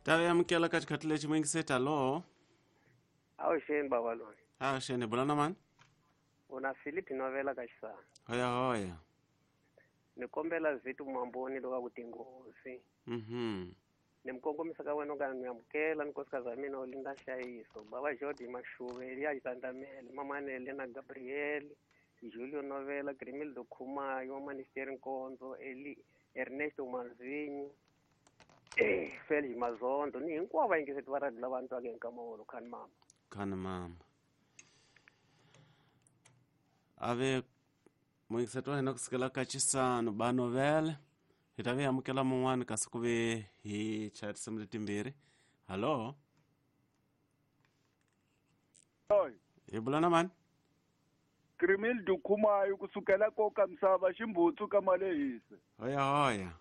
Ta amukela ka xikhathi lexi muyingiseti. Hallo. Avuxeni bava loyi. Avuxeni, hi bula na mani? U na Philip Novela ka Xisana. Hoya hoya. Ni kombela Vito Mamboni loka ku tinghozi. Ni mi kongomisa ka wena u nga ni amukela ni nkosikazi wa mina Olinda Nhlayiso, bava Jordi Mashuve, Eliya Xitandamele, Mamane Elena Gabriel, Julio Novela, Grimildo Khumayo, Manisteri Nkonzo, Eli Ernesto Manzinyi, Felix Mazondo ni hinkwavo vayingiseti va radio lava ni twaka hi nkama wolowo. Khani mama. Khani mama. Ave muyingiseti wa hina kusukela ka Chisano ba Novele. Hi ta vi amukela mun'wani kasi ku ve hi chaya tinsimu letimbirhi. Hallo. Hi bula na mani? Grimildo Khumayo kusukela koka misava ximbutsu ka malehise. Hoya hoya.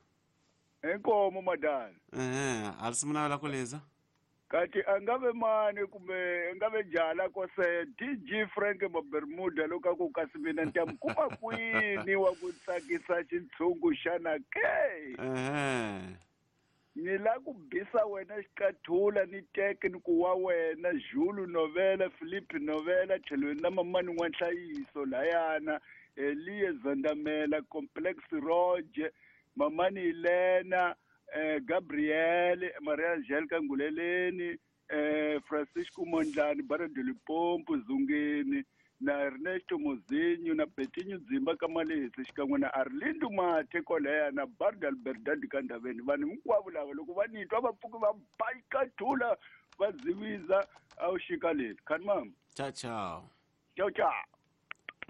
Inkomo madala. Ehe, a risimu navela ku liza. Kati a nga ve mani kumbe a nga ve jala kose DJ Frank Mabermuda loko a ku kasi mina ni ta mi kuma kwini wa ku tsakisa xintshungu xana ke? Ehe. Ni la ku bisa wena xiqathula ni teke ni ku wa wena Julu Novela, Philip Novela, tlhelweni na mamani N'wanhlayiso layana, Eliye Zandamela, Complex Roger, mamani Elena, Gabriel, Maria Angelica Nguleleni, Francisco Mondlani, Barra de Limpopo, Zungeni, na Ernesto Mozinho, na Betinho Dzimba ka Malehisi, xikan'we na Arlindo Mathe kwalaya, na Barda Alberdadi ka Ndaveni. Vanhu hinkwavo lava loko va ni twa va pfuki va ba xiqathula va ziviza a wu xika leli. Khani mama. Ciao ciao. Ciao ciao.